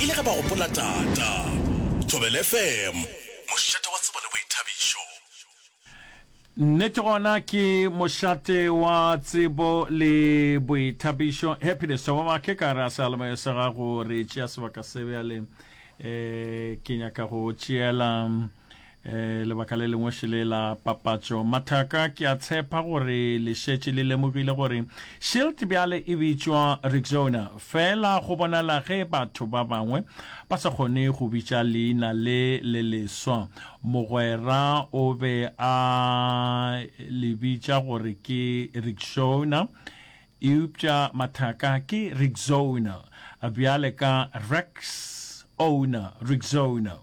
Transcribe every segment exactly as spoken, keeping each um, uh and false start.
E le ge ba gopola tata. Thobela F M, mošate wa tsebo le boithabišo. Nnete gona ke mošate wa tsebo le boithabišo. Happiness Thobamake ka re a seyalemoya sa gago re tšea sebaka se bjale um ke nyaka go tšeela um lebaka le lengwe šele la papatšo. Mathaka ke a tshepa gore le šetše le lemogile gore Shield bjale e bitšwa Rexona, fela go bonala ge batho ba bangwe ba sa kgone go bitša leina le le leswa. Mogwera o be a le bitša gore ke Rexona, eupša mathaka ke Rexona, bjale ka Rex Owner, Rexona.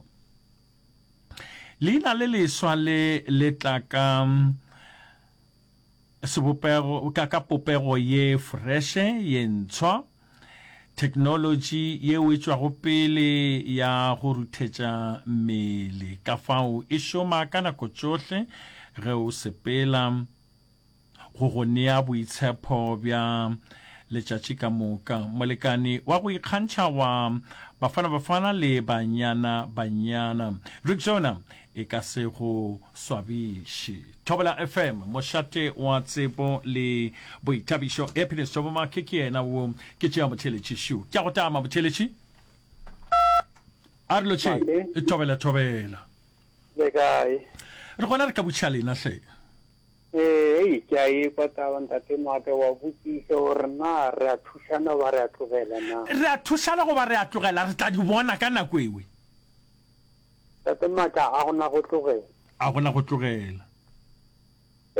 Leina le leswa le le tla ka sebopego ka ka popego ye freše ye ntshwa, theknolotši yeo e tšwago pele ya go ruthetša mmele, ka fao e šoma ka nako tšohle ge o sepela, go go nea boitshepo bja letšatši ka moka. Molekane wa go ikgantšha wa Bafana Bafana le Banyana Banyana, Rexona e ka se go swabiše. Thobela F M, mošate wa tsebo le boithabišo. Happiness Thobomake ke yena wo ke tšea motheeletši šu. Ke a go tama motheeletši. A re lotšheng. Male. Thobela thobela. Le kae? Re gona re ka botšiša lena hle. Ee, ei, ke a ekwa taba ntate Maake, wa botšiša gore na re a thušana goba re a tlogela na? Re a thušana goba re a tlogela, re tla di bona ka nako ewe. Tate Maake, a gona go tlogela. A gona go tlogela.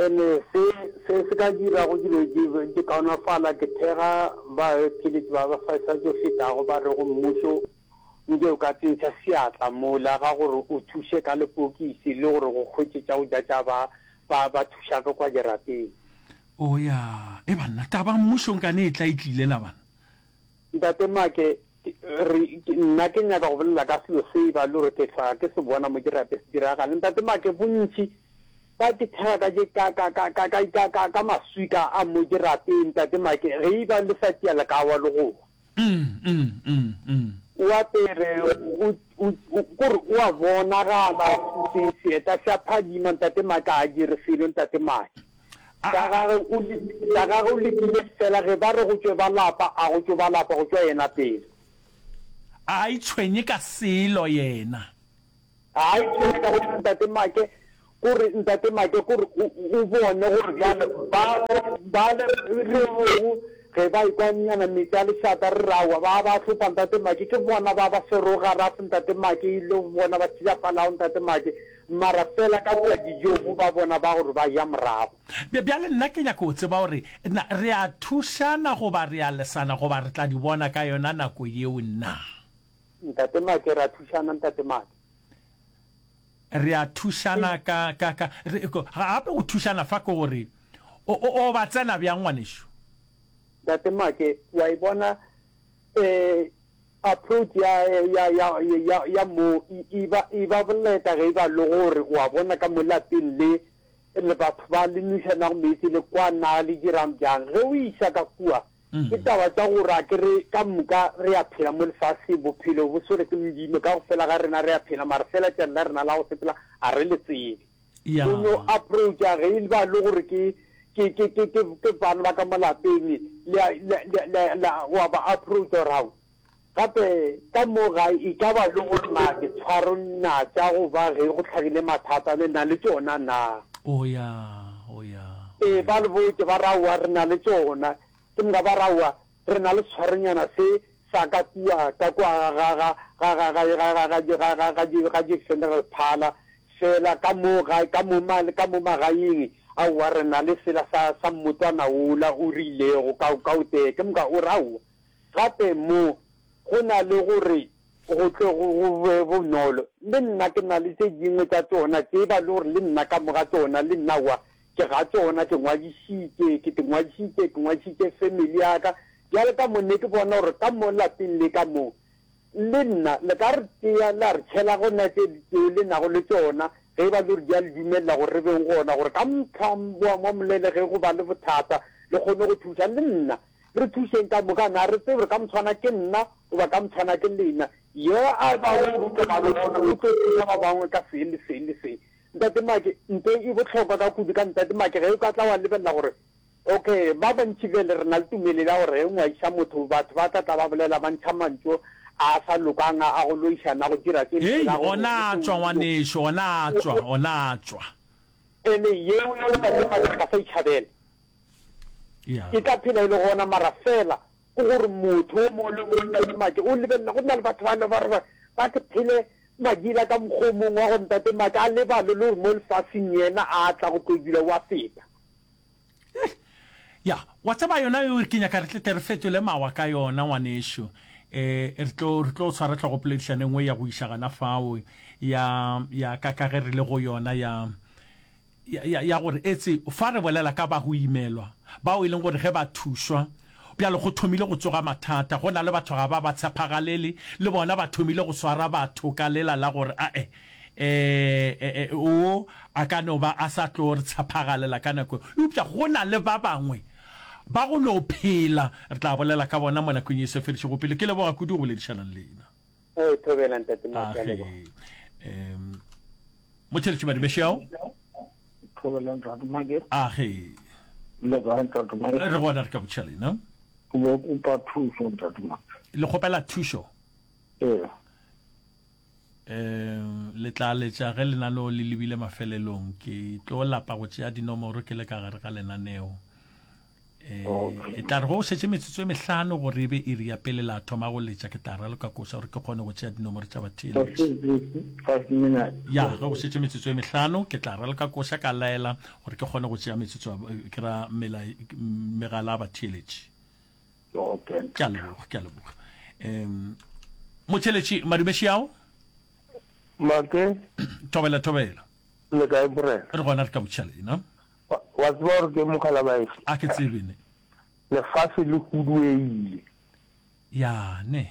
Ene se se se ka dirago dilo di di kaonafala ke thega ba theletši ba ba sa sa tšo fetago ba rego mmušo nke o ka tsentšha seatla mola ga gore o thuše ka lepokisi le gore go hwetše tša go ja tša ba ba ba thušago kwa dirapeng. O ya, e banna, taba mmušo nkane e tla e tlile na bana? Ntate Make, re, nna ke nyaka go bolela ka selo se e ba le gore ke hlwa ke se bona mo dirapeng se diragala. Ntate Make, bontši ba ke thega ka je ka ka ka ka ka ka ka ka maswika a mo dirapeng. Ntate Make, ge e ba le sa tia le ka wa le go wa. Mm, mm, mm, mm. O apere, o, o, o, kore o a bonagala, se, seeta se a phadima, Ntate Make a dire selo, Ntate Make. A, Sa a, gagwe o, sa gagwe o lekile fela ge ba re go tšwe ba lapa, a go tšwe ba lapa, go tšwa yena pele. A itshwenye ka selo yena. A itshwenye ka go Ntate Make, kore Ntate Make, kore o, o bone gore bjale ba, ba le re rego ge ba ekwa nyana meetse a lešata re re aowa ba ba hlopa Ntate Make, ke bona ba ba swerego garafe Ntate Make, e le bona ba tšilafalago Ntate Make, mara fela ka kua dijong ba bona ba gore ba ja morago. Bja, bjale nna ke nyaka go tseba gore na re a thušana goba re a lesana goba re tla di bona ka yona nako yeo na? Ntate Make, re a thušana Ntate Make. Re a thušana ka, ka, ka, re, gape go thušana fa ke gore o, o, o ba tsena bjang ngwanešu? Ntate Make, wa e bona eh, approach ya, ya, ya, ya, ya mo e, e ba, e ba boleta ge e ba le gore wa bona ka mo lapeng le, le batho ba le nwešanago meetse le kwa na le dirang bjang. Ge o iša ka kua, ke taba tša gore a ke re ka moka re a phela mo lefaseng, bophelo bo swere ke Modimo, ka go fela ga rena re a phela, mara fela tšatši la rena la go sepela a re le tsebe. Ya. O no approacha ge e ba le gore ke, ke, ke, ke, ke, ke bana ba ka mo lapeng, le a, le, le, le, le, wa ba approacha gore ao, gape ka mo gae e ka ba le gore na ditshwaro na tša go ba ge go hlagile mathata le na le tšona na? O ya, o ya, o Ee, ya. ba le botše ba re aowa re na le tšona. Ke moka ba re aowa re na le setshwaronyana se sa ka kua, ka kua ga, ga, ga, ga, ga, ga, ga, ga, ga, ga, ga, ga, ga di-funeral parlour, fela ka mo gae, ka mo ma, ka mo magaeng, aowa re na le sela sa, sa mmotwana wola o rilego ka, ka o tee. Ke moka o re aowa gape mo go na le gore go tle go, go be bonolo. Le nna ke na le tše dingwe tša tšona tše ba le gore le nna ka mo ga tšona, le nna aowa ke ga tšona, ke ngwadišitše, ke di ngwadišitše, ke ngwadišitše family ya ka. Bjale ka mo ne ke bona gore ka mo lapeng le ka mo, le nna le ka re tšea la re tšhela gona tše tšeo le nago le tšona, ge e ba le gore di a le dumelela gore re beng gona, gore ka mohla wa, wa molele ge go ba le bothata le kgone go thuša. Le nna Re thušeng ka moka, na re tsebe gore ka motshwana ke nna goba ka motshwana ke lena. Yo a bago go ruta ba le gona o tlo thuša ba bangwe ka se le se le se. Ntate Make, nto e bohlokwa ka kudu ka Ntate Make ge o ka tla wa lebelela gore okay ba bantši bjale re na le tumelo ya gore ge o ngwadiša motho batho ba tla tla ba bolela ba ntšha mantšu a sa lokang a go loišana go dira tše Hei, ona a tšwa ngwanešu, ona a tšwa, ona a tšwa. Ene yeo Ntate Make ka sa itšhabela. Ya. E tla phela e le gona mara fela ke gore motho o mongwe le mongwe Ntate Make o lebelela go na le batho ba le ba re ba se phele madila ka mokgwa o mongwe wa go Ntate Make a lebale le gore mo lefaseng yena a tla go tlo dula wa feta. Ya, wa tseba yona eo ke nyaka re tle tle re fetole mawa ka yona ngwanešu. Eh, re tlo re tlo tshwara tlhogopoledišano e nngwe ya go iša gana fao ya ya ka ka ge re le go yona ya ya ya, ya gore etse fa re bolela ka ba go imelwa bao e leng gore ge ba thušwa bjalo go thomile go tsoga mathata go na le batho ga ba ba tshepagalele le bona ba thomile go swara batho ka lela la gore ae eh, eh, o a ka no ba a sa tlo re tshepagalela ka nako eupša go na le ba bangwe ba go no phela re tla bolela ka bona mo nakong ye se fedišego pele. Ke leboga kudu go boledišana le lena. Ee, thobela Ntate Make, a leboga. Age um motšheletši madumešeo. Thobela Ntate Make. Age. Le kae Ntate Make? Re gona re ka botšha lena. Ke bo kopa thušo Ntate Make. Le kgopela thušo? Ee. Um le tla letša ge lenaneo le lebile mafelelong. Ke tlo lapa go tšea dinomoro ke le ka gare ga lenaneo. Eh, Okay. e tla re go šetše metsotso e mehlano gore e be iri ya pele la thoma go letša, ke tla raloka koša gore ke kgone go tšea dinomoro tša batheeletši. Five minutes. Ya, ge go šetše metsotso e mehlano ke tla raloka koša ka laela gore ke kgone go tšea metsotso ya- ke ra mela, megala ya batheeletši. Okay. Ke a leboga, ke a leboga. Um motšheletši madumeši ao. Make. Thobela, thobela. Le kae morena? Re gona re ka botšha lena. Wa wa tseba gore ke mogala baeso? A ke tsebe ne. Lefase le huduegile. Ya ne.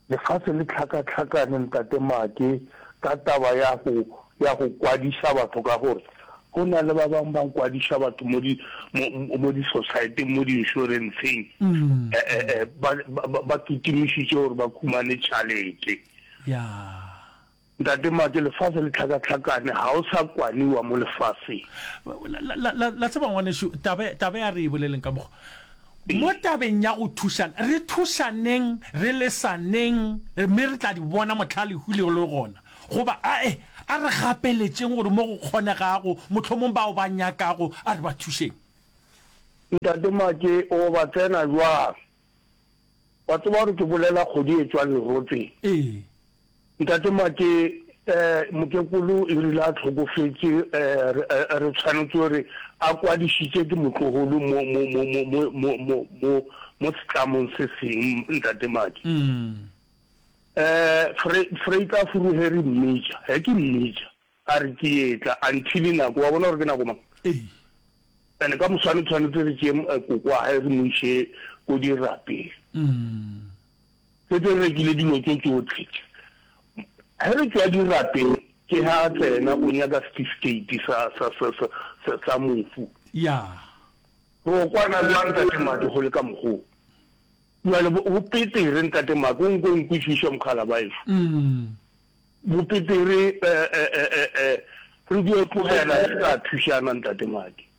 Lefase le hlakahlakane ntate Make ka taba ya go ya go kwadiša batho ka gore go na le ba bangwe ba kwadiša batho mo di mo mo di society mo di insurance-eng eh eh eh ba ba ba kitimišitše gore ba khumane tšhalete. Ya. Ntate Make, lefase le hlakahlakane, ga o sa kwaniwa mo lefaseng. La, la, la, la tseba ngwanešu, taba, taba ya re e boleleng ka mokgwa. Mo tabeng ya go thušana, re thušaneng, re lesaneng, mme re tla di bona mohla lehu le le gona. Goba, ae, a re gapeletšeng gore mo go kgonegago, mohlomong bao ba nyakago, a re ba thušeng. Ntate Make, o ba tsena bjang? Wa tseba gore ke bolela kgodi e tšwang lerotseng. Ee. Ntate Make, eh, mokekolo e rile a hlokofetše, eh, re, eh, re tshwanetse gore a kwadišitše ke motlogolo mo, mo, mo, mo, mo, mo, mo, mo, mo setlamong se seng, Ntate Make. Mm. Eh, Fre, Freita Furuheri mmitša, he ke mmitša, a re ke etla, until nako, wa bona gore ke nako mang? Ee. Ene ka moswane tshwanetse re tšee eh, koko wa hae re mo iše ko dirapeng. Mm. Setse re rekile dilo tso tsotlhe. Ge re tšwa dirapeng ke ha a tsena o nyaka certificate sa sa sa sa sa, sa mofu. Ya. Ro kwana bjang Ntate Make go le ka mokgoo? Bjale bo, bo petere Ntate Make, o nko nkwešiše mokgala baešo. Mm. Bo petere eh eh eh eh eh re dio tlogela re sa thušana Ntate Make.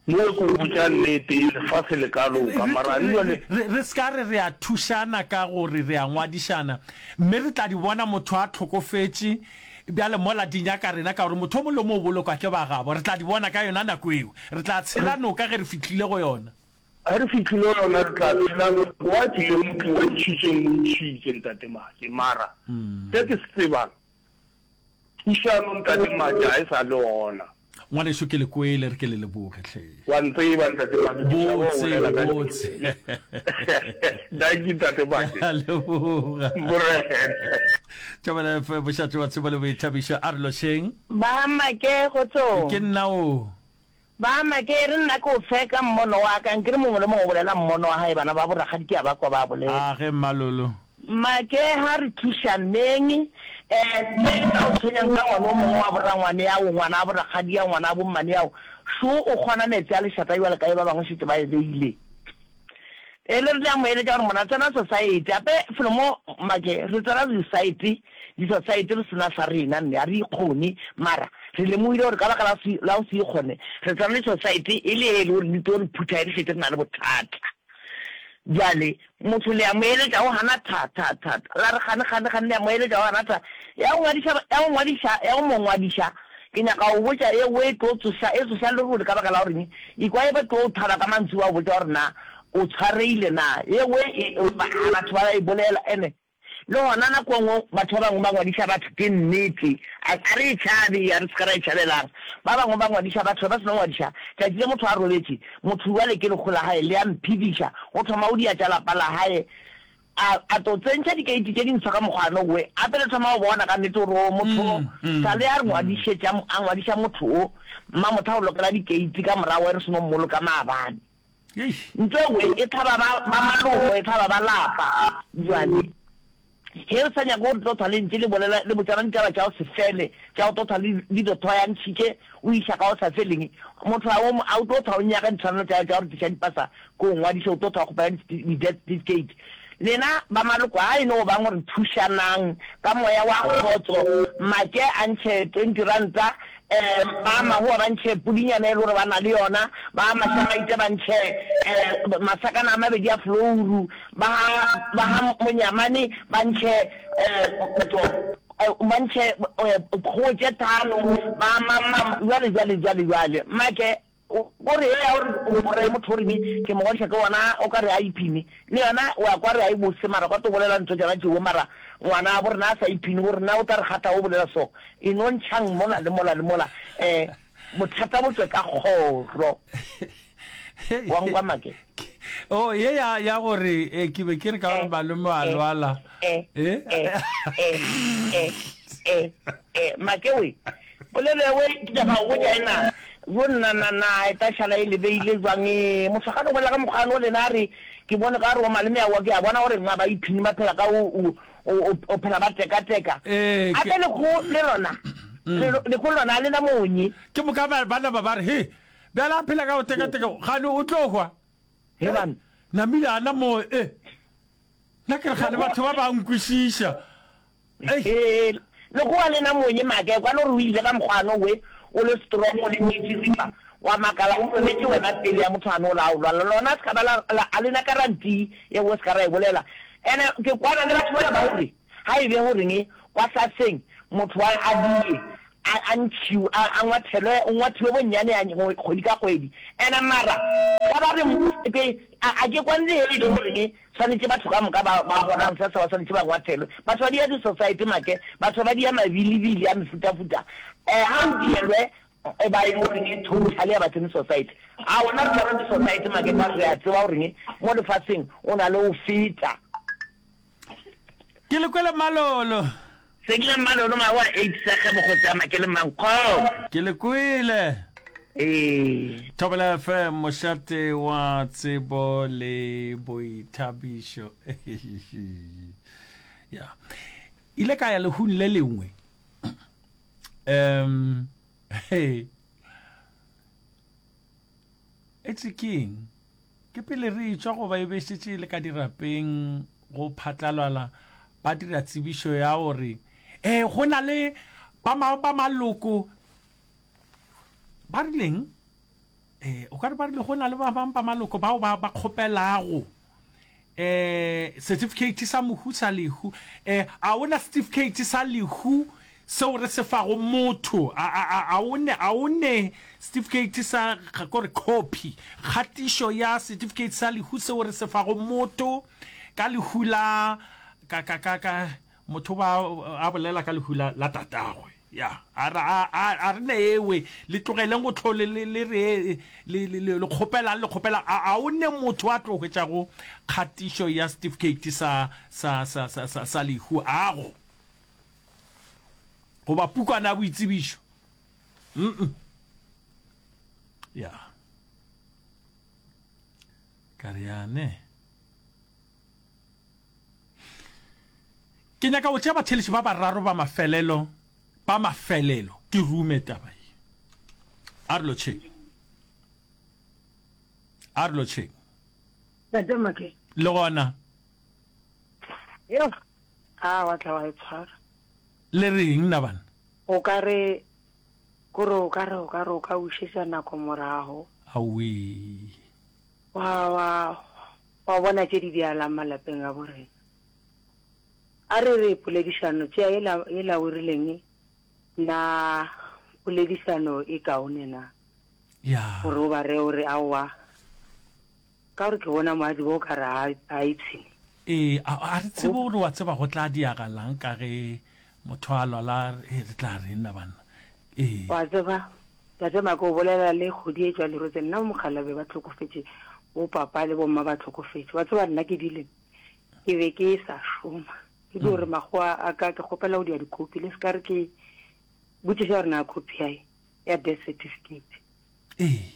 Mo ke go botša nnete, lefase le ka loka, mara Re, jwale re, re se ka re re a thušana ka gore re a ngwadišana, mme re tla di bona motho a hlokofetše, bjale mola di nyaka rena, ka gore motho o mongwe le o mongwe o bolokwa ke ba gabo. Re tla di bona ka yona nako eo. Re tla tshela noka ge re fihlile go yona. Ge re fihlile go yona, re tla tshela noka. Wa tlile motho o ntšhitšeng, o ntšhitše, Ntate Make, mara se ke se tsebang, thušano, Ntate Make, ga e sa le gona. Ngwanešu ke le kwele, re ke le leboge hle. Wa ntseba Ntate Make, ke tšhaba go Botse, bolela ka botse. Dankie Ntate Make. Ke a leboga. Morena. Thobela F M, mošate wa tsebo le boithabišo, a re lošeng. Ba Make, kgotsong. Ke nna o. Ba Make, e re nna ke o fe ka mmono wa ka, nkere mongwe le mongwe o bolela mmono wa gae, bana ba borakgadi ke a ba kwa ba bolela. A ge Mmalolo. Make, ha re thušaneng, eh, ntho e ka o tshwenyang ka ngwana o mongwe wa borangwane ao, ngwana wa borakgadi ao, ngwana wa bommane ao, šo o kgona meetse a lešata bjalo ka ge ba bangwe šetše ba e beile. E le re le a mo eletša gore mona tsena society gape felo mo make re tsena di-society di-society re sena sa rena nne ga re ikgone mara re lemogile gore ka baka la la go se ikgone re tsena di-society e le e le gore di tlo re phutha e re šetše re na le bothata bjale motho le a mo eletša o gana tha tha tha la re gane gane gane le a mo eletša o gana tha ya go ngwadiša ya go ngwadiša ya go mo ngwadiša Ke nyaka go botša ye we tlo tsoša, e tsoša lerole ka baka la goreng ikwa e ba tlo thaba ka mantšu ba go botša gore na o tshwareile na. Ye we e, ba, batho ba e bolela ene le gona nako nngwe batho ba bangwe ba ngwadiša batho ke nnete, a, a re e tšhabe, a re se ka ra e tšhabelang. Ba bangwe ba ngwadiša batho ba seno ngwadiša, tšatši le motho a robetše, motho bjale ke lekgo la gae le a mphediša, o thoma o dia tša lapa la gae, A, a tlo tsentšha dikeiti tše dintsho ka mokgwa we, gape le thoma go bona ka nnete gore o motho o, sa le a re ngwadišetša, a ngwadiša motho o, mmamotha o lokela dikeiti ka morago ge re seno mmoloka maabane. Ntho e we e hlaba ba, ba maloko, e hlaba ba lapa. Bjale, ge re sa nyake gore tlo thwa le ntše le bolela, le botšana ditaba tša go se fele, tša go tlo thwa le, le tlo thwa ya ntšhitše o iša ka go sa feleng, motho a o, a o tlo thwa o nyaka ditshwanelo tša, tša gore tliša dipasa Ko ngwadiše o tlo thwa kgopela di-death certificate. Lena ba maloko a e no bang gore thušanang ka moya wa kgotso, Make a ntšhe twenty ranta, um ba Mahoa ba ntšhe pudinyana e le gore ba na le yona, ba Mashamaite ba ntšhe um masakana a mabedi a flouru, ba ba ga Monyamane ba ntšhe um ba ntšhe kgogo tše thano, ba mang mang, jwale jwale jwale jwale. Make O re, Eya, o re, o re motho o reng ke mo ngwadiša ke wona o ka re a iphine. Le yona o a kwa re a e bose mara kwa to bolela ntho tšona tšeo mara ngwana bo rena a sa iphine bo rena o tla re kgatha o bolela so. E no ntšhang mola le mola le mola eh bothata bo tšwe ka kgoro. Wa nkwa Make? Oh, ye ya ya gore eh, ke be ke re ka gore Eh, malome wa eh, lwala. eh, Eh? eh, eh, eh, eh, eh, Make we. Polelo ewe ke nyaka go botša ena, yo nna na na e tla šala e lebeile jwang ee motho a ka no bolela ka mokgwa ano lena a re ke bone ka re o maleme aowa ke a bona gore nna ba iphini ba phela ka o o o o phela ba tekateka Ee, ke gape lekgo le lona le lekgo le lona a lena monye. Ke moka ba ba napa ba re, He, bjale a phela ka go tekateka gane o tlo hwa. He banna. Namile a na mo e. Nna ke re gane batho ba ba nkwešiša. Ee, lekgowa le na monye make kwa le gore o ile ka mokgwa ano we o le strong o le metsiripa wa makala o robetše wena pele ya motho ano la o lwala lona se ka ba la la a lena guarantee ye we se ka ra e bolela ene ke kwana le batho bana ba gore ga e be goreng kwa saseng motho a a die a a ntšhiwe a a ngwathelwe o ngwathiwe bonnyane ya kgwedi ka kgwedi ene mara ka ba re ke a a ke kwane le e le goreng Swanetše batho ka moka ba ba golang sasa ba swanetše ba ngwathelwe. Batho ba dia di-society make, batho ba dia mabilibili a mefutafuta. Eh, ga o dielwe e ba e le goreng totally ga ba tsene society. A ona re tshwara di-society make ka re a tseba goreng mo lefaseng o na le go feta. Ke le kwele Mmalolo. Se ke le Mmalolo mawa eight sa ge mokgotsi a make le mankgo. Ke le kwele. Ee. Thobela F M, mošate wa tsebo le boithabišo. Ya. Ile ka ya lehung le lengwe. Um, hey. Etse keng? Ke pele re etšwa goba e be e šetše e le ka dirapeng go phatlalala ba dira tsebišo ya gore ee go na le ba ba maloko ba rileng eh o ka re ba rile go na le ba bang ba maloko bao ba ba kgopelago eh certificate sa mohu sa lehu eh a ona certificate sa lehu seo re se fago motho a a a a o ne a o ne certificate sa kore copy kgatišo ya certificate sa lehu seo re se fago motho ka lehu la ka ka ka ka motho ba a bolela ka lehu la la tatagwe ya a re a a a re ne ewe le tlogeleng go tlhole le le re le le le kgopelang le kgopela a a o ne motho a tlo hwetšago kgatišo ya certificate sa sa sa sa sa, sa lehu ago goba pukwana ya boitsebišo mm ya ka re yane ke nyaka go tšea batheletši ba bararo ba mafelelo ba mafelelo ke rume taba ye a re lotšheng a re lotšheng Ntate Make. Le gona. Yo, a wa tla wa e tshwara. Le reng na bana? O ka re, kore o ka re, o ka re o ka bušetša nako morago. Aowii. Wa, wa, wa bona tše di dialang malapeng a borena. A re re poledišano, tšea yela, yela o rileng, na poledišano e kaone na? Ya. Gore o ba reye o re, Aowa, ka gore ke bona moaji bo o ka re a, a ipshine. Ee, a, a re tsebe gore wa tseba go tla diagalang ka ge motho a lwala, e, re tla reng na banna? Ee. Wa tseba, Tate Maka o bolela le kgodi e tšwa lerotse, nna mokgalabje ba hlokofetše, bo papa le bomma ba hlokofetše. Wa tseba nna ke dile, ke be ke sa šoma. Ke dio re makgowa a ka ke kgopela go dia dikopi, le se ka re ke botšiša gore na copy ya ya death certificate. Ee.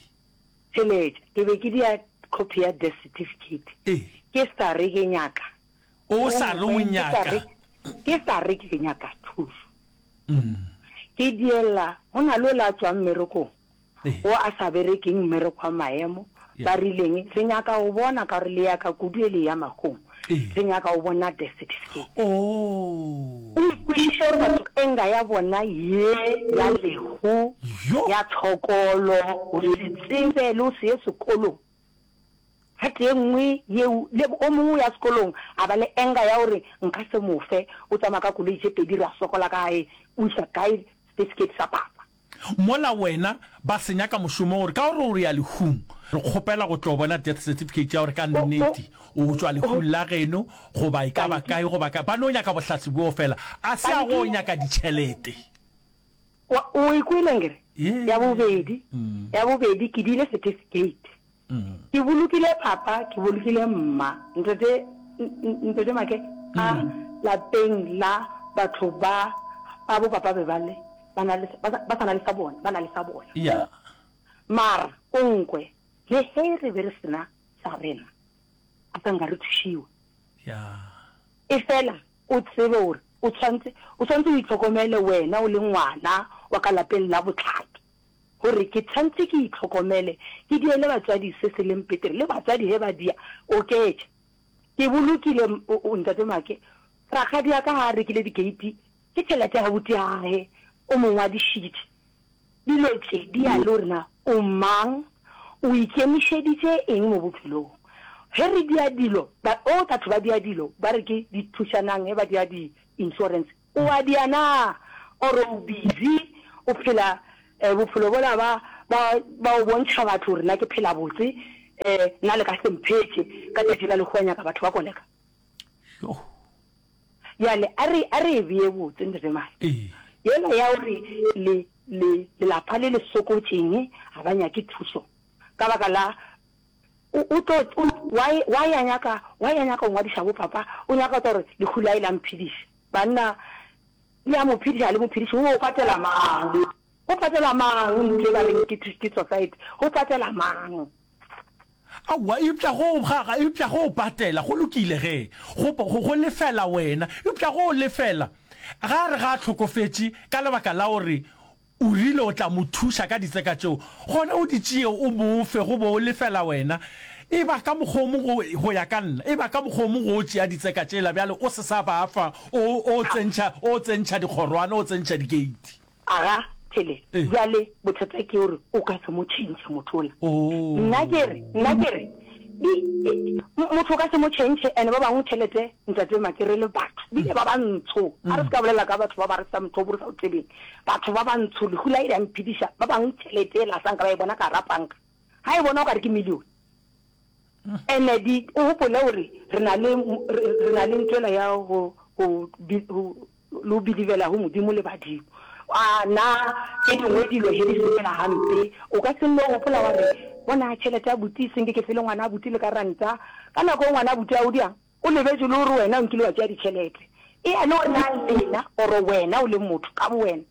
Theletša, ke be ke dia copy ya death certificate. Ee. Ke sa re ke nyaka. O sa re o nyaka. Ke sa re ke nyaka thušo. Ke diella, go na le ola a tšwang mmerekong, o a sa berekeng mmereko wa maemo, ba rileng, re nyaka go bona, ka gore le ya ka kudu e le ya mahong, re nyaka go bona death certificate. O ikwešiše gore batho enga ya bona ye ya lehu, ya tshokolo, go se tsebe le go se ye sekolong, Part ye nngwe yeo, le o mongwe o ya sekolong a ba le anger ya gore nka se mo fe, o tsamaya ka koloi tše pedi ra sokola ka gae, o iša kae certificate sa papa? Mola wena ba se nyaka mošomo gore ka gore o ya lehung re kgopela go tlo bona death certificate ya gore ka nnete o tšwa lehung la geno goba e ka ba kae goba kae, ba no nyaka bohlatse bjoo fela a se a go nyaka ditšhelete. Wa, o e kwele nkere? Ya bobedi, ya bobedi ke diile certificate. Ke bolokile papa, ke bolokile mma. Ntate, Ntate Make, a lapeng la batho ba, ba bo papa be ba le, ba na le, ba sa na le sa bona, ba na le sa bona. Yeah. Mara o nkwe, le ge re be re sena sa rena, a sa nka re thušiwa. Yeah. Efela o tsebe gore o tshwantse, o tshwantse o itlhokomele wena o le ngwana wa ka lapeng la bohlaki. Gore ke tshwantse ke itlhokomele, ke diele batswadi se se leng petere, le batswadi ge ba dia, oketša. Ke bolokile, o, o, Ntate Make, rakgadi ya ka ga a rekile dikeiti, ke tšhelete ya abuti ya gage, o mo ngwadišitše. Dilo tše di ya le gore na o mang, o ikemišeditše eng mo bophelong. Ge re dia dilo, ba, o, batho ba dia dilo, ba re ke di thušanang ge ba dia di insurance. O a dia na? Or o busy o phela bophelo bola ba ba ba o bontšha batho gore nna ke phela botse, nna le ka se mphetše ka tšatši la lehu wa nyaka batho ba koleka? Yoh. Bjale a re a re e bee botse Ntate Mare. Ee. Yela ya gore le le lelapa le le sokotšeng ga ba nyake thuso ka baka la o o tlo o why why a nyaka why a nyaka go ngwadiša bo papa o nyaka go gore lehu la e la mphediša. Banna, le a mo phediša, ga le mo phediše, go patela mang? Go patela mang ntlo e ba reng ke, ke society? Go patela mang? Aowa, eupša go, ga, ga, eupša go patela, go lokile ge, go, go, go lefela wena. Eupša go lefela, ga a re ga a hlokofetše ka lebaka la gore O rile o tla mo thuša ka ditseka tšeo, gona o di tšee o mo fe, go bo o lefela wena. E ba ka mokgwa o mongwe go, go ya ka nna, e ba ka mokgwa o mongwe go o tšea ditseka tšela bjale o se sa ba fa, o, o tsentšha, o tsentšha dikgorwana, o tsentšha dikeiti. Aga, Thele, bjale bothata ke gore o ka se mo tšhentšhe motho ola. Nna ke re, nna ke re, di, motho o ka se mo tšhentšhe, and ba bangwe tšhelete, Ntate Make, re le batho, bile ba bantsho, a re se ka bolela ka batho ba ba re sa motho o bo re sa o tsebeng. Batho ba bantsho lehu la ile ya mphediša, ba bangwe tšhelete yela sa nka ba e bona ka gara panka, ga e bona o ka re ke million. Ene di o gopole gore re na le re na le ntwela ya go go go le go believela go Modimo le badimo. A na tše dingwe dilo he di sepela gampe o ka se nno gopola wa re bona tšhelete ya buti e senke ke fele ngwana buti le ka ranta. Ka nako e ngwana buti a o diang? O lebetše le gore wena o nkile wa tšea ditšhelete. Eya le gore na lena or wena o le motho ka bowena.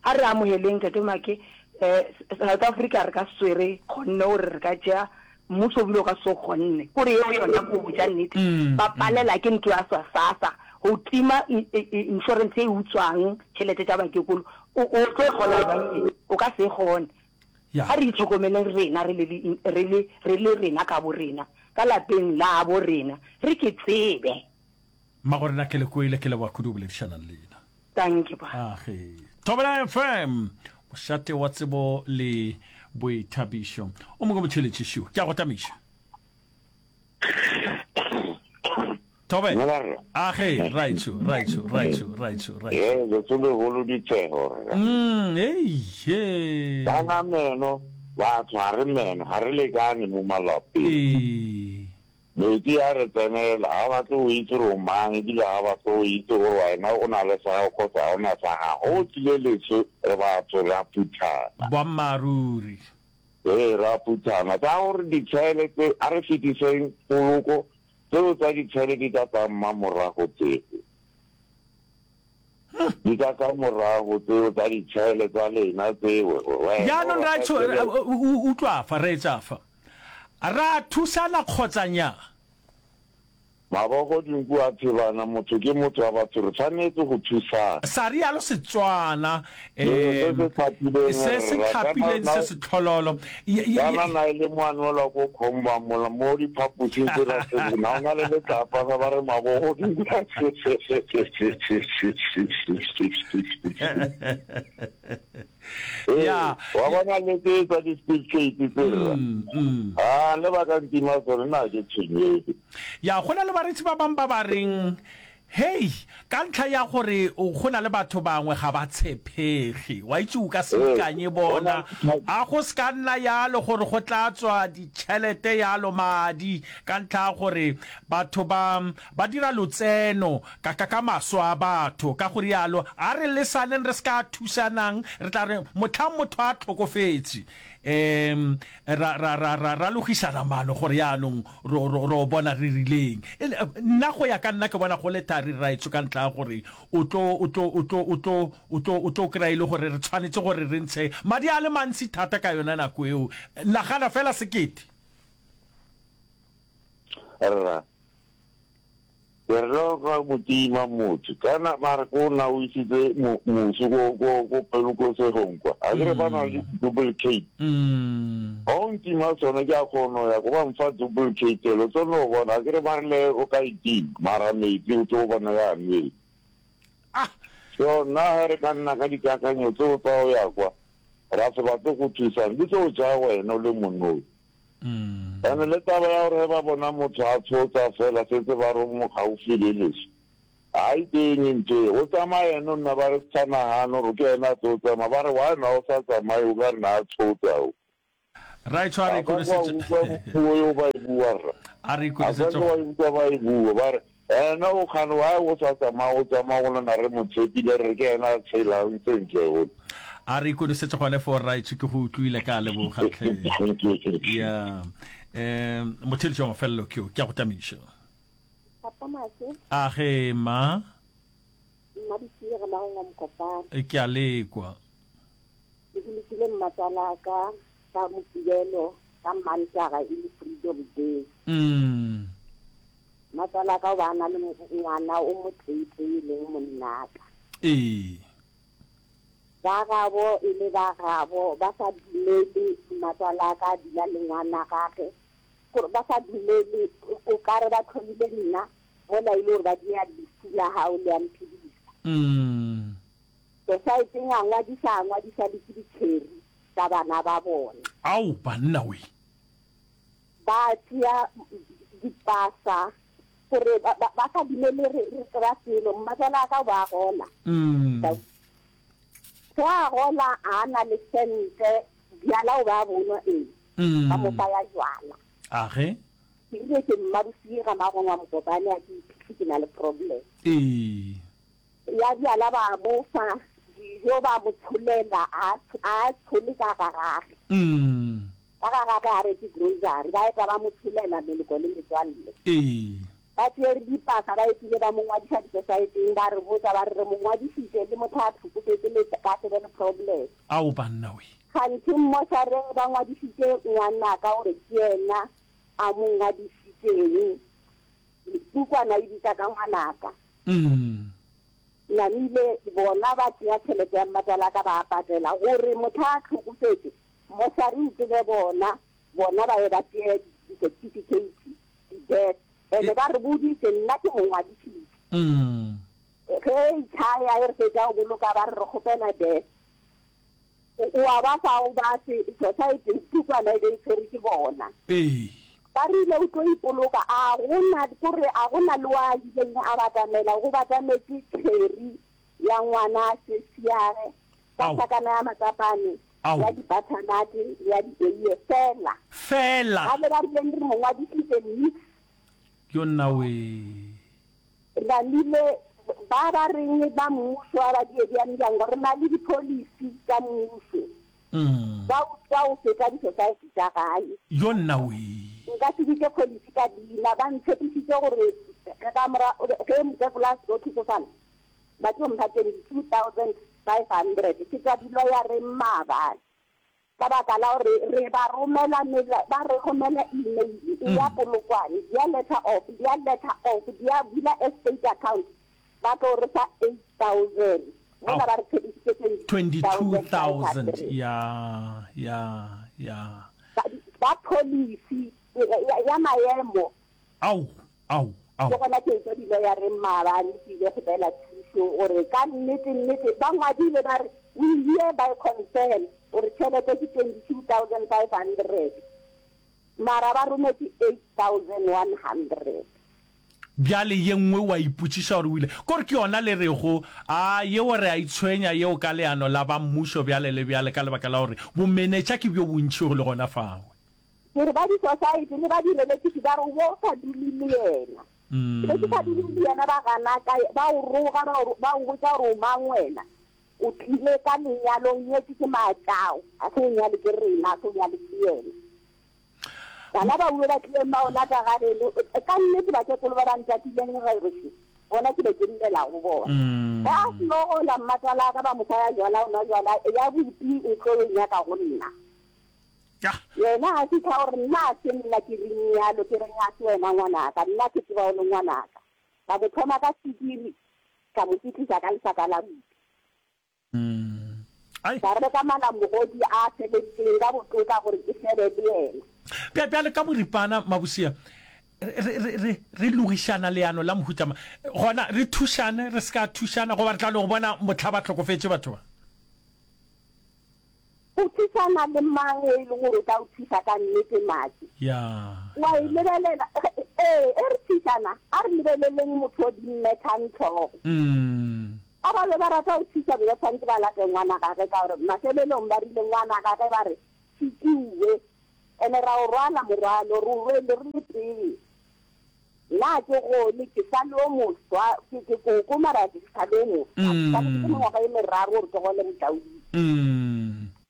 A re amogeleng Tate Make, South Africa re ka se tsoe re kgonne gore re ka tšea mmušo o bile o ka se tsoe o kgonne. Kore yeo yona ko botša nnete ba palela ke ntlo ya SASSA go tima insurance e utswang tšhelete tša bakekolo. O tlo e kgona bjang? O ka se e kgone. A re itlhokomeleng rena re le, re le, re le rena ka borena. ka lapeng labo rena re ke tsebe. Mmagorena ke le kwele, ke leboga kudu go boledišana le lena. Dankie ba. Age. Thobela F M, mošate wa tsebo le boithabišo. O mongwe motšheletši šiwo. Ke a go tamiša. Thobela. Dumela rra. Age, raitsho, raitsho, raitsho, raitsho, raitsho. Ee, letso legolo ditshego rra. Mm, ei, he. Kana meno, batho ga re meno, ga re lekane mo malapeng. Ee. Metsi a re tsenela, ga ba batle go itse gore o mang, ebile ga ba batle go itse gore wena o na le sa gago kgotsa ga o na sa gago. Go tlile leso, re batho, re a phuthana. Boammaaruri. Ee, re a phuthana. Tsa gore ditshele tse, a re fetiseng poloko, tseo tsa ditshele di tla tla mmamorago tseo. Di tla tla morago tseo tsa ditshele tsa lena tseo. Wena o Jaanong rata raetsho, tšhelete. utlwa fa, reetsa fa. Ra thusana kgotsa nya? Mabogo dinku a thebana, motho ke motho wa batho, re tshwanetse go thusana. Sa rialo Setswana, Se se tlhapileng se se rra, tlhapileng se se tlhololo. Kana na e le moanelwa ko Khomba mola mo diphaposing tse ra tse na o na le letlapa sa ba re mabogo dinku a Ee, Ya. wa bona le tse tsa di-speed gate tse rra. Mm, mm. Ah, le ba ka ntima tsone nna ke tshwenyege. Ya, go na le bareetsi ba bangwe ba ba reng, Hei, ka ntlha ya gore go na le batho bangwe ga ba tshepege. Wa itse o ka se Ee, ikanye go na bona. A go se ka nna yalo gore go tla tswa ditšhelete yalo, madi, ka ntlha ya gore batho ba, ba dira lotseno ka, ka, ka maswa a batho. Ka go rialo, a re lesaneng re se ka thusanang, re tla re mohlang motho a hlokofetše, um ra, ra, ra, ra, ra logišana maano gore yaanong ro, ro, ro bona re rileng. E, nna go ya ka nna ke bona go le thari, rraetsho, ka ntlha ya gore o tlo, o tlo, o tlo, o tlo, o tlo, o tlo kry-a e le gore re tshwanetše gore re ntshe madi a le mantsi thata ka yona nako eo. Nagana fela sekete. Rra, ke re ka motima motho kana mara ko na o isitse mosu ko ko ko polokosegong kwa a kere ba na le duplicate ga o ntima tsone ke a kgona ya ko ba mfa duplicate lo tsone o bona a kere ba re le o ka itima mara metsi o tlo bona ya nwele ah so nna ge re ka nna ka dikakanyo tseo tsa o ya kwa ra se batle go thusang di tlo ja wena o le monoi. And le taba ya gore ge ba bona motho a tshotsa fela setse ba re o mo gaufi le leso, ga e teng ntho e. O tsamaya ene o nna ba re se sa nagane gore ke ena a tlo tsamaya, ba re why na o sa tsamaye o ka re na a tshotsa o. Raetsho a re Ga ka kwa ikonosetse. utlwa puo eo ba e bua rra. A re Ga ka ikonosetse. kwa utlwa ba e bua ba re ena o kgane why o sa tsamaya o tsamaya go lena re mo tshepile re re ke ena a tshelang sentle o. A re ikonosetse gone foo rraetsho ke go utlwile ka leboga tlhe. Ya. Um motheletši wa mafelelo ke yo, ke a go tamiša. Papa Make. A ge ma. Mma Ditsie re Magong wa Mokopane. Ke a lekwa. Ke bolokile mmatswalaka ka Mokibelo ka Mantaga e le Freedom Day. Mm. Mmatswalaka o ba a na le ngwana o moteetee e leng monnaka. Ee. Ba gabo e le ba gabo ba sa dumele mmatswalaka a dula le ngwana gage gore ba sa dumele o ka re ba thomile nna mola e le gore ba dia lefu la gago le a mphedisa. Mm. Society-eng a ngwadisa a ngwadisa le ke ditšheri tsa bana ba bona. Ao banna we. Ba tšea dipasa gore ba, ba, ba sa dumele re, re tseba selo. Mmatswalaka o ba gola. Mm. Ge a gola a na le sente, bjala o ba bonwa ee. Mm. Ba mo fa ya jwala. A ge? Ke rile ke mmabosie ga Magong wa Mokopane a ke iphihle ke na le problem. Ee. Ya bjala ba mo fa dijo ba mo tsholela a, a tshole ka ga gage. Mm. Ka ga gage a reke grocery ba eta ba mo tsholela meloko le metswalle. Ee. Ba tšere dipasa ba etile ba mo ngwadiša disosaeteng ba re botša ba re re mo ngwadišitše le motho a hlokofetše le ka se be le problem. Ao banna we. Kganthe mmošareng ba ngwadišitše ngwanaka gore ke yena a mo ngwadišitšeng. Pukwana e bitša ka ngwanaka. Mm. Namile bona ba tšea tšhelete ya mmatswalaka ba a patela gore motho a hlokofetše mmošare o tsebe bona, bona ba ye ba tšee di-certificate. death. Ene ba re boditše, nna ke mo ngwadišitše. Ge e tšhaya e re fetša go boloka ba re re kgopela death. O a ba fa o ba se society pukwana e be e tshwerwe ke bona. Ba rile o tlo ipoloka a go na kore a go na le wa ileng a batamela go batametše Terry ya ngwana sesiage ka Ao. hlakana ya matsapane Ao. ya di-butternut le ya di-eiye fela. Fela. Ba be ba rileng re mo ngwadišitše nix. Yo nna wee. Re namile ba ba reng ba mmušo a ba diediamdiango re na le di-policy tša mmušo. Ba utswa go feta di-society tša gae. Yo nna wee. Nka se bitše policy ka leina. Ba ntshepišitše gore ka mora ge mokekolo a seno hlokofala ba tlo mpha twenty two thousand five hundred. Ke tšwa diloyareng maabane ka baka la gore re ba romela ba re romela email e ya Polokwane, dia letter of, dia letter of, dia bula estate account ba tlo re fa eight thousand mola ba re tshepišitše twenty twenty two two thousand five thousand hundred. ya ya ya. Ba, ba policy ya, ya maemo. Ao, ao, ao. Ke gona ke etšwa diloyareng maabane ke ile kgopela thušo gore ka nnete nnete ba ngwadile ba re we hereby confirm gore tšhelete ke twenty two thousand five hundred mara ba rometše eight thousand one hundred. Bjale ye nngwe wa ipotšiša gore o ile kore ke yona le rego a yeo re a itshwenya yeo ka leano la ba mmušo bjale le bjale ka lebaka la gore bomenetša ke bjo bontši go le gona fawe. Ke re ba di-society le ba di-relative ba re o bo o sa dule le yena. Ke be ke sa dule le yena ba gana ka, ba o roga, ba o, ba o botša gore o mang wena. O tlile ka lenyalo, o nyetšwe ke maatšao, ga se o nyale ke rena, ga se o nyale ke yena. Bana ba uwe ba tlileng ba o lata ga geno, ka nnete bakekolo ba ba ntatileng gešo, bona ke be ke llela go bona. Ge a seno gola mmatswalaka ba mo fa ya jwala, o nwa jwala, ya bupi o tlo e nyaka go nna. Yena a fihla o re, Nna a se nna ke reng bjalo, ke reng a se wena ngwanaka, nna ke tseba o le ngwanaka. Ka mo thoma ka swikiri, ka mo fihlisa ka lesaka la bupi. Ka reka malamogodi a feletšeng ka botlotla gore ke febe le yena. Bja, bjale ka boripana, Mabosia, re, re, re, re, re logišana leano la mohuta mang? Gona re thušane, re se ka thušana, goba re tla no go bona mohla ba hlokofetše batho ba? O thušana le mang e le gore o tla o thuša ka nnete, Maki? Ya, Wa e ya. lebelela, ee, e re thušana, a re lebeleleng motho o di mmethang hlogo. Mm. Ba ba be ba rata go thuša be ba tshwanetse ba late ngwana gage ka gore mafelelong ba rile ngwana gage ba re Tšitšiwe ene ra o rwala morwalo re o rwele re le tee. Nna ke gole ke sa le o moswa ke ke koko mara ke sa le o moswa ke sa le ke mengwaga e meraro gore ke gole motlaodi.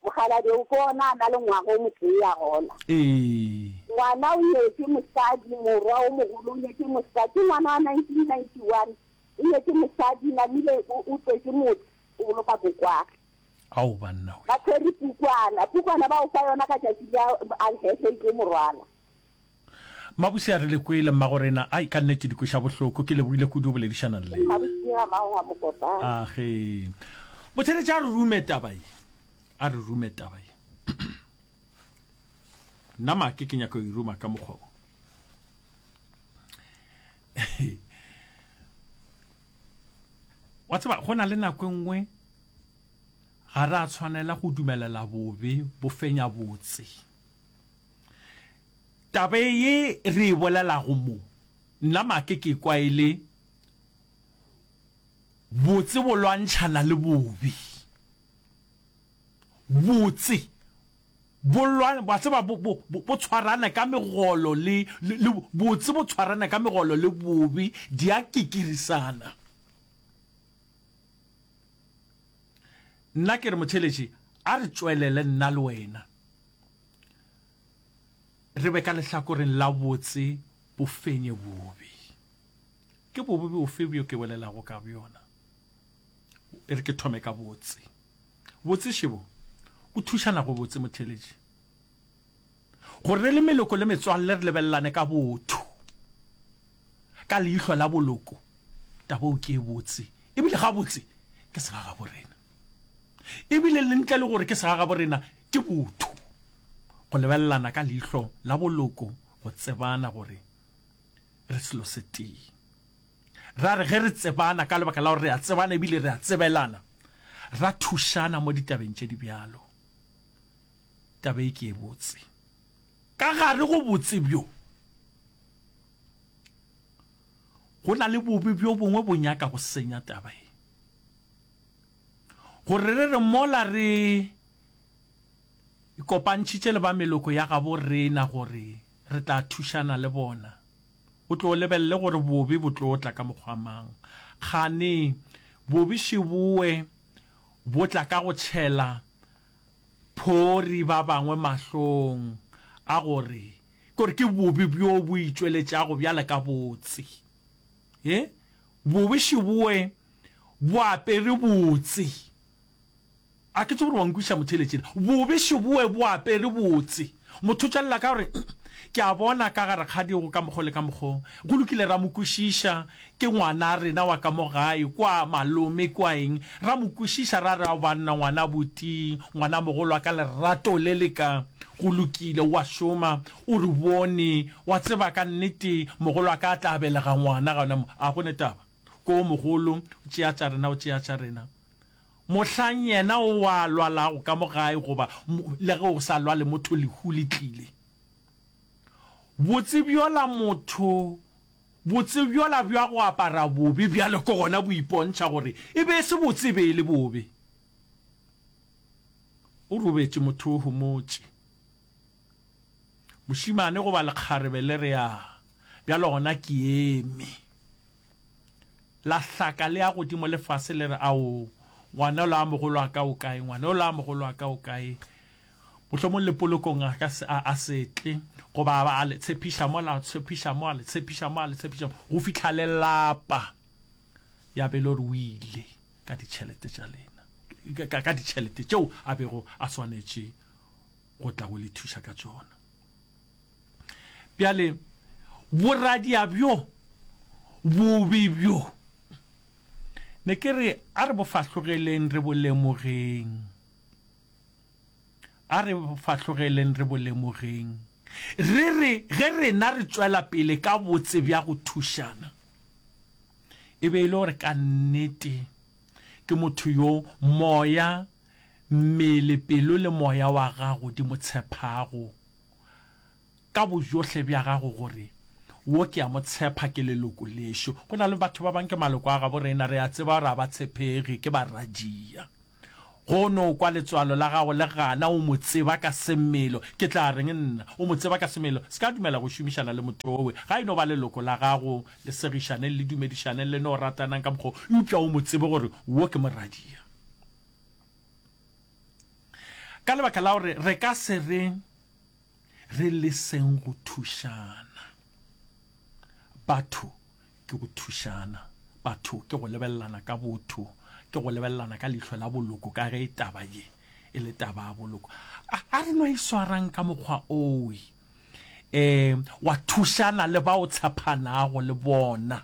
Mokgalabje o ko ona a na le ngwaga o motee a gola. Ngwana o nyetše mosadi morwa o mogolo o nyetše mosadi ke ngwana wa nineteen ninety one O nyetše mosadi, namile o, o tswetše motse, o boloka kokwage. Ao banna we. Ba tshwere pukwana, pukwana ba o fa yona ka tšatši la a hehle e tlo mo rwala. Mabuse a re le kwele mmagorena, ai ka nnete di kweša bohloko, ke lebogile kudu go boledišana le lena. Mabuse ga mago ga mokopane. Age. Botheletše a re rume taba ye, a re rume taba ye. Nna make ke nyaka go e ruma ka mokgwa wo. Wa tseba, go na le nako e nngwe ga re a tshwanela go dumelela bobe bo fenya botse. Taba ye re e bolelago mo, nna make ke kwa e le botse bo lwantšhana le bobe. Botse Bo lwa, wa tseba, bo, bo, bo, bo tshwarana ka megolo le, le, le, botse bo tshwarana ka megolo le bobe, di a kikirisana. Nna ke re, motheeletši, a re tšwelele nna le wena re be ka lehlakoreng la botse bo fenye bobe. Ke bobe bofe bjo ke bolelago ka bjona? E re ke thome ka botse. Botse šebo, go thušana go botse motheeletši. Gore re le meloko le metswalle re lebelelane ka botho, ka leihlo la boloko, taba eo ke e botse, ebile gabotse ke segagaborena. Ebile le ntle le gore ke segagaborena, ke botho go lebelelana ka leihlo la boloko, go tsebana gore Re selo se tee. Ra re ge re tsebana ka lebaka la gore re a tsebana ebile re a tsebelana, ra thušana mo ditabeng tše di bjalo. Taba e ke e botse. Ka gare go botse bjo, go na le bobe bjo bongwe bo nyaka go senya taba ye. Gore re re mola re ikopantšhitše le ba meloko ya gabo rena gore re tla thušana le bona, o tlo lebelele gore bobe bo tlo tla ka mokgwa mang. Kgane bobe šeboe bo tla ka go tšhela phori ba bangwe mahlong a gore, ke gore ke bobe bjo bo itšweletšago bjale ka botse. He, bobe šeboe bo apere botse. A ke tsebe gore wa nkwešiša motheeletši na. Bobe šeboe bo apere botse. Motho o tšwelela ka gore, Ke a bona ka ga rakgadi go ka mokgo le ka mokgo. Go lokile ra mo kwešiša, ke ngwana rena wa ka mo gae, kwa malome, kwa eng. Ra mo kwešiša ra re, Ao banna, ngwana buti, ngwana mogolo wa ka, lerato le le ka. Go lokile, o a šoma, o re bone, wa tseba ka nnete mogolo wa ka a tla belega ngwana gona mo. A go ne taba. Ko mogolo, o tšea tša rena, o tšea tša rena. Mohlang yena o a lwalago ka mo gae goba le ge o sa lwale motho lehu le tlile. Botse bjola motho, botse bjola bja go apara bobe bjalo ke gona bo ipontšha gore e be e se botse e be e le bobe. O robetše motho o homotše. Mošemane goba lekgarebe le re a, bjalo gona ke eme. La hlaka le ya godimo le fase le re, Ao, ngwana yola a mogolo wa ka o kae? Ngwana yola a mogolo wa ka o kae? Mohlomong le polokong a ka se, a, a se tle, goba a ba a le tshepiša mo, la tshepiša mo, a le tshepiša mo, a le tshepiša mo, go fihla le lapa. Ya be e le gore o ile ka ditšhelete tša lena, ka, ka, ka ditšhelete tšeo a bego a swanetše go tla go le thuša ka tšona. Bjale, boradia bjo bobe bjo, ne ke re a re bo fahlogeleng re bo lemogeng. A re bo fahlogeleng re bo lemogeng. Re re ge rena re tšwela pele ka botse bja go thušana, e be e le gore ka nnete ke motho yo moya, mmele, pelo le moya wa gago di mo tshephago. ka bojohle bja gago gore, Wo ke a mo tshepa, ke leloko lešo. Go na le batho ba bang ke maloko a gabo rena, re a tseba gore a ba tshepege, ke baradia. Go no kwa letswalo la gago le gana, o mo tseba ka semelo. Ke tla reng nna? O mo tseba ka semelo. Se ka dumela go šomišana le motho owe. Ga e no ba leloko la gago, le segišaneng, le dumedišaneng, le no ratanang ka mokgwa wo, eupša o mo tsebe gore wo ke moradia. Ka lebaka la gore re ka se re. Re leseng go thušana. Batho ke go thušana. Batho ke go lebelelana ka botho, ke go lebelelana ka leihlo la boloko ka ge taba ye e le taba ya boloko. A, a re no e swarang ka mokgwa owe, um wa thušana le ba o tshephanago le bona.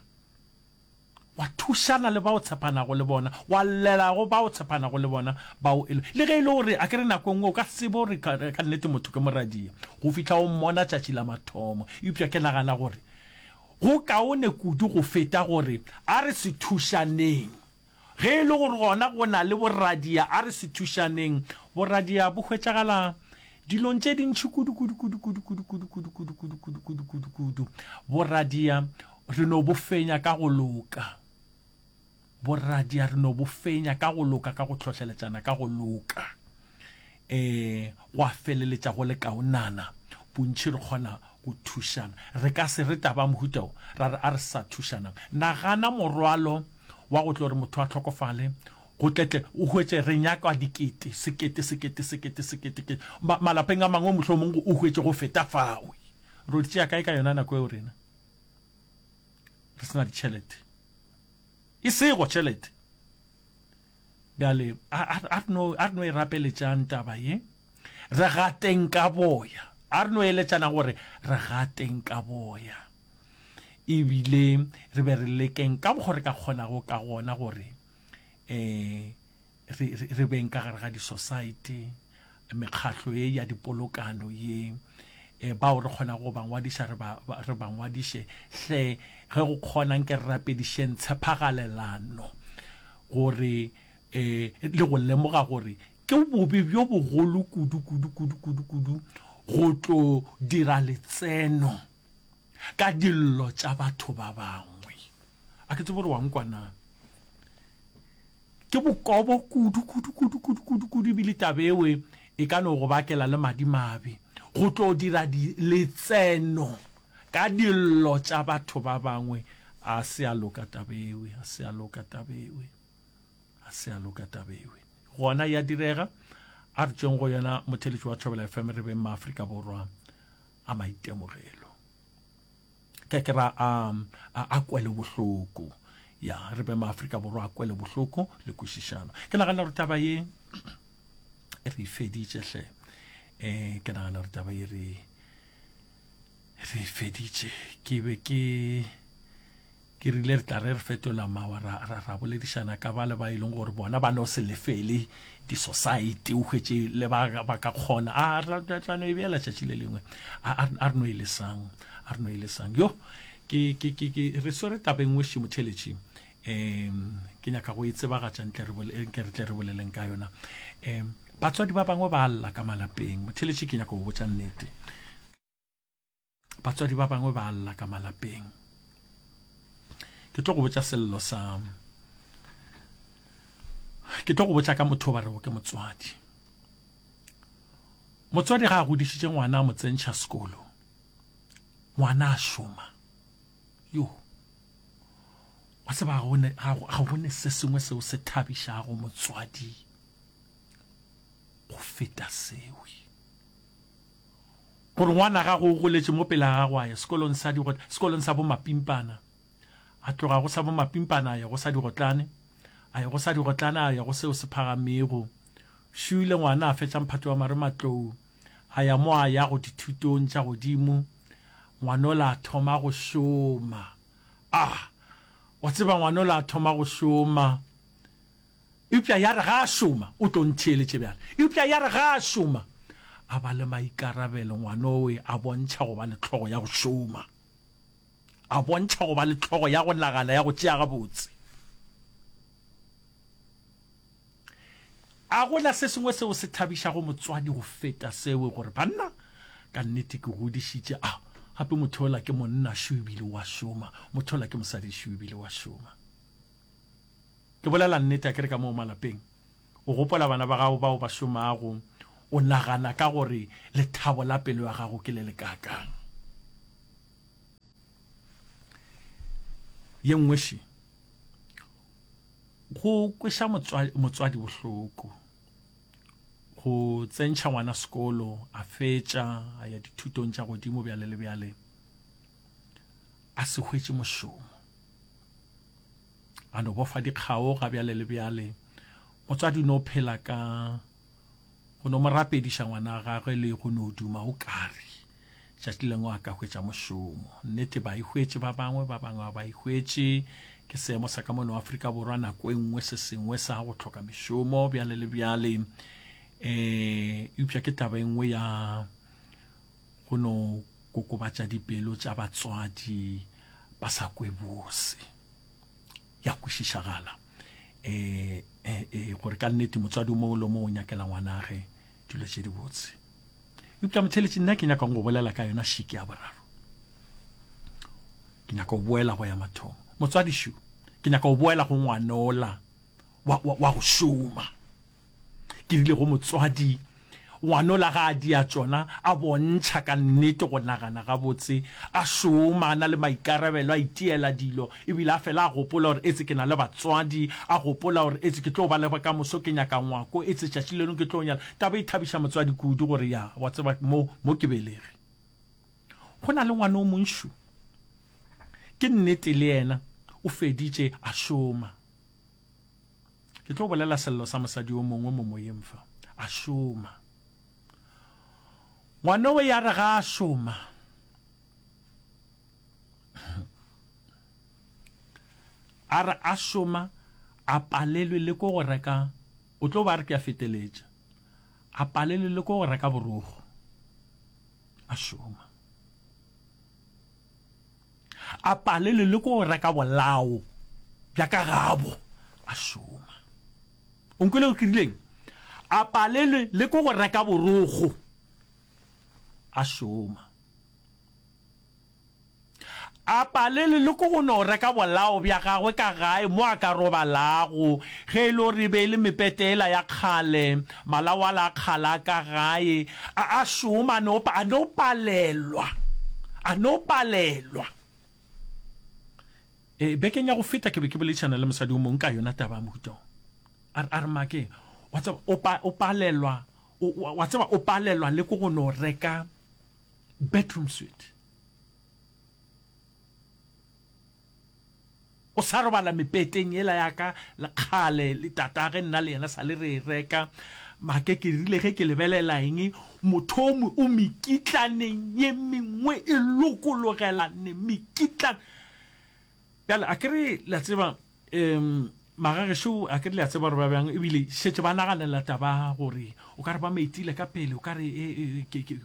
Wa thušana le ba o tshepanago le bona, wa llela go ba o tshepanago le bona, bao e le, le ge e le gore, a ke re nako e nngwe o ka se tsebe gore ka, ka nnete motho ke moradia go fihla o mmona tšatši la mathomo. Eupša ke nagana gore go kaone kudu go feta gore a re se thušaneng. Ge e le gore gona go na le boradia, a re se thušaneng. Boradia bo hwetšagala dilong tše dintši kudu, kudu, kudu, kudu, kudu, kudu, kudu, kudu, kudu, kudu, kudu, kudu, kudu. Boradia re no bo fenya ka go loka. Boradia re no bo fenya ka go loka, ka go hlohleletšana ka go loka. E, gwa feleletša go le kaonana. Bontši re kgona go thušana. Re ka se re taba mohuta wo, ra re a re sa thušanang. Nagana morwalo wa go tlo re motho a hlokofale, go tletle o hwetše re nyaka dikete, sekete, sekete, sekete, sekete, kete. Ma, malapeng a mangwe mohlomong o hwetše go feta fawe. Ro di tšea kae ka yona nako eo rena? Re se na ditšhelete. E sego tšhelete. Bjale, a, a, a re no, a re no e rapeletšang taba ye. Re gateng ka boya. A re no eletšana gore re gateng ka boya. Ebile re be re lekeng ka mokgo re ka kgonago ka gona gore um re, re, re beng ka gare ga di-society, mekgahlo ye ya dipolokano ye, um bao re kgonago go ba ngwadiša re ba, re ba ngwadiše. Hle, ge go kgona nke re rapedišeng tshepagalelano gore um le go lemoga gore ke bobe bjo bogolo kudu, kudu, kudu, kudu, kudu go tlo dira letseno ka dillo tša batho ba bangwe. A ke tsebe gore wa nkwa na. Ke bokobo kudu, kudu, kudu, kudu, kudu, kudu, ebile taba ewe e ka no go bakela le madimabe, go tlo dira di, letseno ka dillo tša batho ba bangwe. A se a loka taba ewe, a se a loka taba ewe, a se a loka taba ewe. Gona ya direga, a re tšweng go yona motheletši wa Thobela F M re beng Maafrika Borwa a maitemogelo. Ke ke ra a, a, a kwelobohloko. Ya, re be Maafrika Borwa a kwelobohloko le kwešišano. Ke nagana gore taba ye e re feditše hle. Eh, ke nagana gore taba ye re, re feditše. Ke be ke, ke rile re tla re re fetola mawa ra, ra, ra boledišana ka ba le ba e leng gore bona ba no se lefele di-society, o hwetše le ba, ba ka kgona. A, ra, ra tla no e beela tšatši le lengwe. A, a, a re no e lesang, a re no e lesang. Yo, ke, ke, ke, ke, re swere taba e nngwe še motheletši. Em, ke nyaka go e tsebagatša ntle re bole-, nke re tle re boleleng ka yona. Em, batswadi ba bangwe ba lla ka malapeng. Motheletši, ke nyaka go botša nnete. Batswadi ba bangwe ba lla ka malapeng. Ke tlo go botša sello sa, ke tlo go botša ka motho ba rego ke motswadi. Motswadi ga a godišitše ngwana a mo tsentšha sekolo, ngwana a šoma. Yo, wa tseba ga go ne, ga go, ga go ne se sengwe seo se thabišago motswadi go feta seo. Gore ngwana gago o goletše mo pele ga gago a ya sekolong sa digo-, sekolong sa bomapimpana, a tloga go sa bomapimpana a ya go sa digotlane, a ya go sa digotlane a ya go seo se phagamego. Šuile ngwana a fetša mphato wa marematlou, a ya mo a yago dithutong tša godimo, ngwanola a thoma go šoma. Ah, wa tseba ngwanola a thoma go šoma. Eupša ya re ga a šoma, o tlo ntheeletše bjale. Eupša ya re ga a šoma, a ba le maikarabelo, ngwanowe a bontšha go ba le hlogo ya go šoma. A bontšha go ba le hlogo ya go nagana, ya go tšea gabotse. A gona se sengwe seo se thabišago motswadi go feta seo, gore banna, ka nnete ke godišitše, a gape motho ola ke monna šo ebile wa šoma, motho ola ke mosadi šo ebile wa šoma. Ke bolela nnete, a ke re ka moo malapeng, o gopola bana ba gago bao ba šomago, o nagana ka gore lethabo la pelo ya gago ke le lekaakang. Ye nngwe še, go kweša motswa-, motswadi bohloko, go tsentšha ngwana sekolo, a fetša, a ya dithutong tša godimo bjale le bjale, a se hwetše mošomo, a no bofa dikgao ga bjale le bjale. Motswadi o no phela ka go no mo rapediša ngwana wa gagwe le go no duma o kare tšatši lengwe a ka hwetša mošomo. Nnete ba e hwetše ba bangwe, ba bangwe ba e hwetše. Ke seemo sa ka mono Afrika Borwa nako e nngwe se sengwe sa go hloka mešomo bjale le bjale. Eh, eupša ke taba e nngwe ya go no kokobatša dipelo tša batswadi ba sa kwe bose. Ya kwešišagala, eh, eh, eh, gore ka nnete motswadi o mongwe le o mongwe o nyakela ngwanage dilo tše dibotse. Eupša motheletši, nna ke nyakang go bolela ka yona šiki ya boraro. Ke nyaka go boela go ya mathomo. Motswadi šu, ke nyaka go boela go ngwanola wa, wa, wa go šoma. Ke rile go motswadi, ngwanola ga a dia tšona, a bontšha ka nnete go nagana gabotse, a šoma, a na le maikarabelo, a itiela dilo, ebile a fela a gopola gore etse ke na le batswadi, a gopola gore etse ke tlo ba le bokamoso, ke nyaka ngwako, etse tšatši le lengwe ke tlo nyala. Taba e thabiša motswadi kudu gore ya, wa tseba, mo, mo ke belege. Go na le ngwana o monšu, ke nnete le yena o feditše a šoma. Ke tlo bolela sello sa mosadi o mongwe mo moyeng fa. A šoma. Ngwanowe ya re ga a šoma, a re a šoma, a palelwe le ko go reka, o tlo ba re ke a feteletša, a palelwe le ko go reka borogo. A šoma. A palelwe le ko reka bolao bja ka gabo. A šoma. O nkwele gore ke rileng? A palelwe le ko go reka borokgo. A šoma. A palelwe le ke go no reka bolao bja gagwe ka gae mo a ka robalago, ge e le gore e be e le mepete yela ya kgale, malao ala a kgale a ka gae, a a šoma, a no, a no palelwa, a no palelwa. E, bekeng ya go feta ke be ke boledišana le mosadi o mongwe ka yona taba ya mohuta wo. A re, a re, Make, wa tseba, o pa, o palelwa, o, wa tseba, o palelwa le ke go no reka bedroom suite. O sa robala mepeteng yela ya ka le kgale le tatage nna le yena sa le re e reka. Make ke rile ge ke lebelela eng motho o mekitlaneng ye mengwe e lokologelane mekitlane. Bjale a ke re le a tseba um magagešo a ke re le a tseba gore ba bjang ebile šetše ba naganela taba gore o ka re ba metile ka pele o ka re e, e, ke, ke,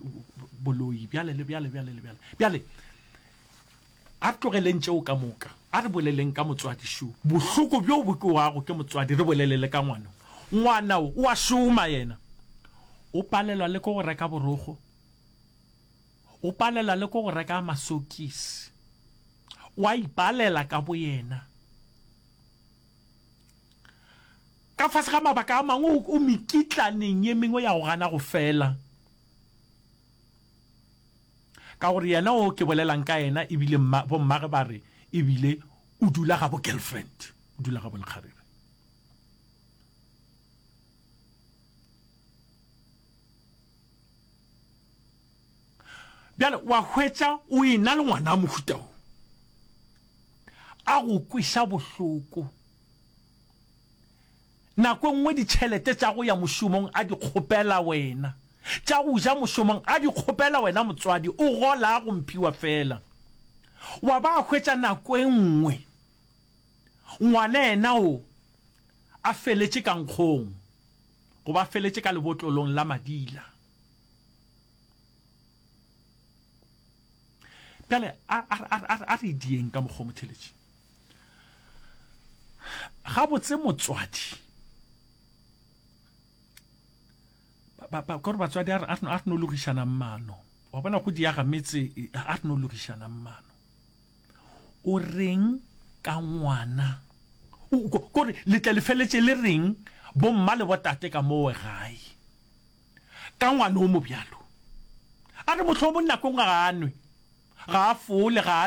boloi bjale le bjale bjale le bjale. Bjale a re tlogeleng tšeo ka moka, a re boleleng ka motswadi šo. Bohloko bjo bo kwewago ke motswadi re bolelele ka ngwana. Ngwana o o a šoma yena. O palelwa le ke go reka borokgo. O palelwa le ke go reka masokisi. O a ipalela ka boyena. Ka fase ga mabaka a mangwe o mekitlaneng ye mengwe ya go gana go fela. Ka gore yena o ke bolelang ka yena ebile mma, bommage ba re ebile o dula ga bo girlfriend, o dula ga bo lekgarebe. Bjale wa hwetša o e-na le ngwana wa mohuta wo, a go kweša bohloko. Nako e nngwe ditšhelete tša go ya mošomong a di kgopela wena, tša go ja mošomong a di kgopela wena motswadi, o gola go mphiwa fela. Wa ba hwetša nako e nngwe ngwana yena o a feletše ka nkgong goba a feletše ka lebotlolong la madila. Bjale a, a, a, a, a re dieng ka mokgwa o motheletši. Gabotse motswadi, ba, ba, kore batswadi a re, a re, a re no logišanang maano. Wa bona go diaga metse, a re no logišanang maano. O reng ka ngwana? O, kore le tle le feletše le reng bomma le botate ka mowe gae? Ka ngwana o mobjalo. A re mohlomong nako nngwe ga a nwe, ga a fole, ga a